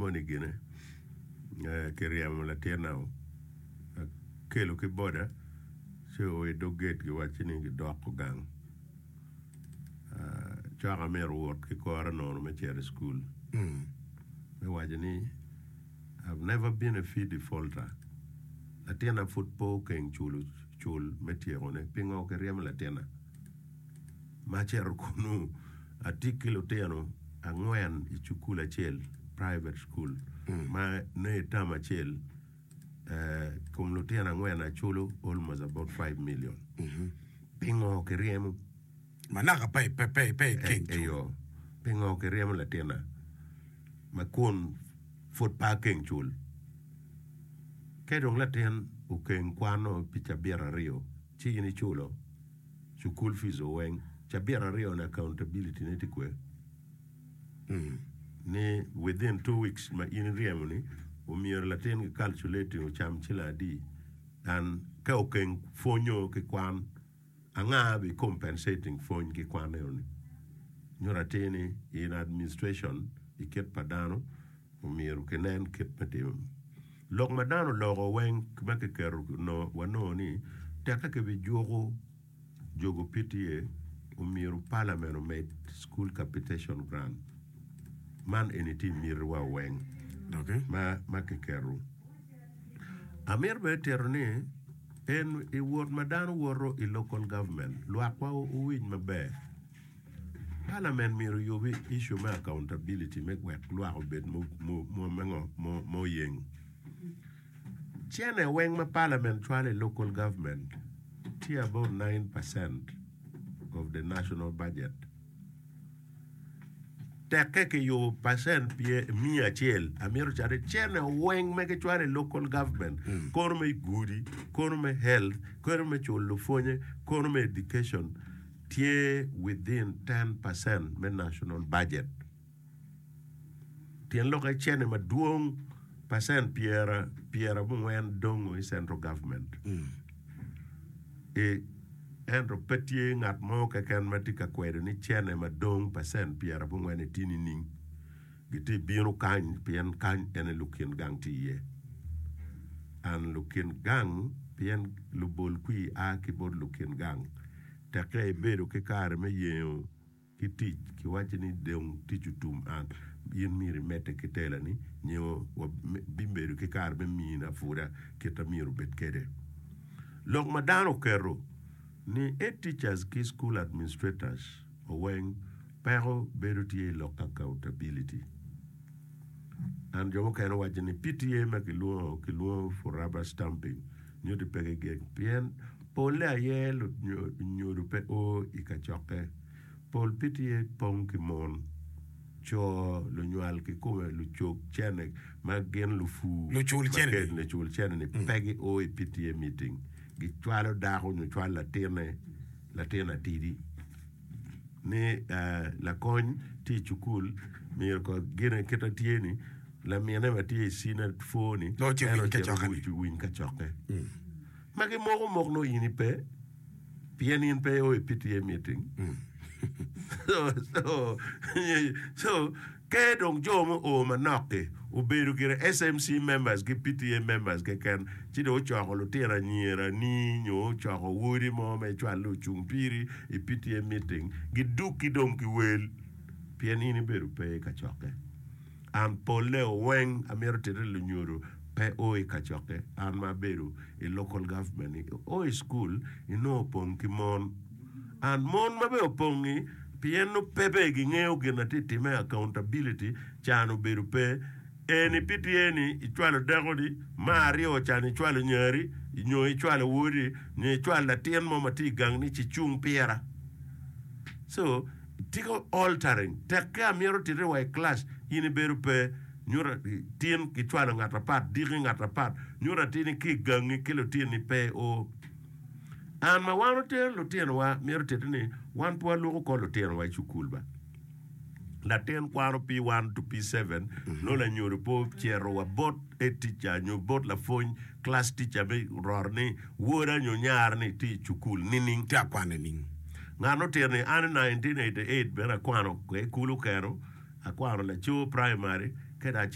moni gine kiryemo latinna o akelo ki boda ci oo i dog gate giwacci ni gidoko gang cok amito wot ki kora nono me cito i cukul me waco ni I've never been a fee defaulter latinna pud pe okeng culo cul me tyekone pingo kiryemo latinna? Ma acito kunnu, atye ki lutino angwen i cukul acel, private school, ma nongo i term acel kom lutino angwen aculo almost about 5 million. Pingo kiryemo? Ma naka pe ikeng cul. Eyo, pingo kiryemo latinna ma kun pud pe akeng cul? Ka dong latin okeng kwano pi cabit aryo, ci in iculo? Cukul fees o weng cabit aryo ni accountability ne tye kwe ni within 2 weeks ma in iryemo ni omyero latin ki calculating ocam ciling adi and ka okeng pwonyo ki kwan anga bi compensating pwony ki kwan eno ni nyuto atir ni in administration i kit pa dano omyero kinen kit me timo lok ma dano oloko weng ma kiketo wanongo ni teke kibijuko jogo PTA omyero parliament omed school capitation grant man eni tye i miti wa weng ma kiketo. Amito bene tito ni en i wot ma dano woto i local government lwakwa owiny maber. Parliament myero oyubi issue me accountability me wek lwak obed ma oyeng. Cene weng ma parliament cwalo i local government tye about 9% of the national budget. Tekke kiyubo percent miya acel amito cati cene weng ma gicwalo i local government kono me gudi, kono me health, kono me culo lupwonye, kono me education tye within 10% me national budget. Tyen lokke cene madwong percent pyerabongwen dongo i central government. E, ento pe tye ngat mo keken ma tye ka kwedo ni cene madong percent pyerabongwen-ni tye nining. Gitye bino kany pien kany ene lukin gang tye iye. An lukin gang pien lubol kwir a ki bot lukin gang. Tekke ibedo ki kare me yengo ki tic, kiwacci ni dong tic otum an, in myero imedde ki telani nyo wabibedo ki kare me mini apuda kit ma myero obed kwede. Lok ma dano oketo ni head teachers ki school administrators oweng peko bedo tye i lok accountability. And jo mukene waco ni PTA ma kilwongo, kilwongo for rubber stamping nyuto pe gigeng pien Polle aye lunyodo pe o i kacokke. Pol PTA pong ki mon, co, lunywal kikome, lucog cene ma gin lupur lucul cene-ni pe gio i PTA meeting. Gicwalo dako nyo cwalo latinne, latin atidi ni lakony tye i cukul myero kong gine kite tye-ni lamine ma tye i cina four-ni en ocito owiny kacokke. Ma gimoko mok nongo in ipe pien in pe io i PTA meeting. so, so, so ke dong jo mo o manok-ki obedo gire SMC members ki PTA members keken ci dong ocoko lutino anyira ni nyo ocoko wodi mo me cwalo ocung piri i PTA meeting gidukki dong ki wel pien in ibedo pe i kacokke. An polle weng amito tite lunyodo pe o i kacokke. An ma abedo i local government ni o i school inongo opong ki mon. And mon ma bene opong-ngi pien nongo pe bene gingeyo gin na tye time accountability can obedo pe. Eni pi tye ni icwalo dakoni, me aryo can icwalo nyari nyo icwalo wodi nyo icwalo latin mo ma tye i gang ni ci cung pira. So Tika altering tekke amito tite wa i class in ibedo pe nyuto tin ki cwalo ngat apat diki ngat apat nyuto atir ni ki gangi ki lutini pe o an ma wan otero lutino wa mito tite ni wan pe walwoko kor lutino wa i cukul ba latin kwano P1 to P7 nongo lanyodo pe ocito wa bot head teacher nyo bot lapwony class teacher me roro ni woda nyo nyara ni tye i cukul nining? Tye akwano nining? Ngat otito ni an i 1988 bene akwano kwede kulu keno, akwano laco primary ka dong acito.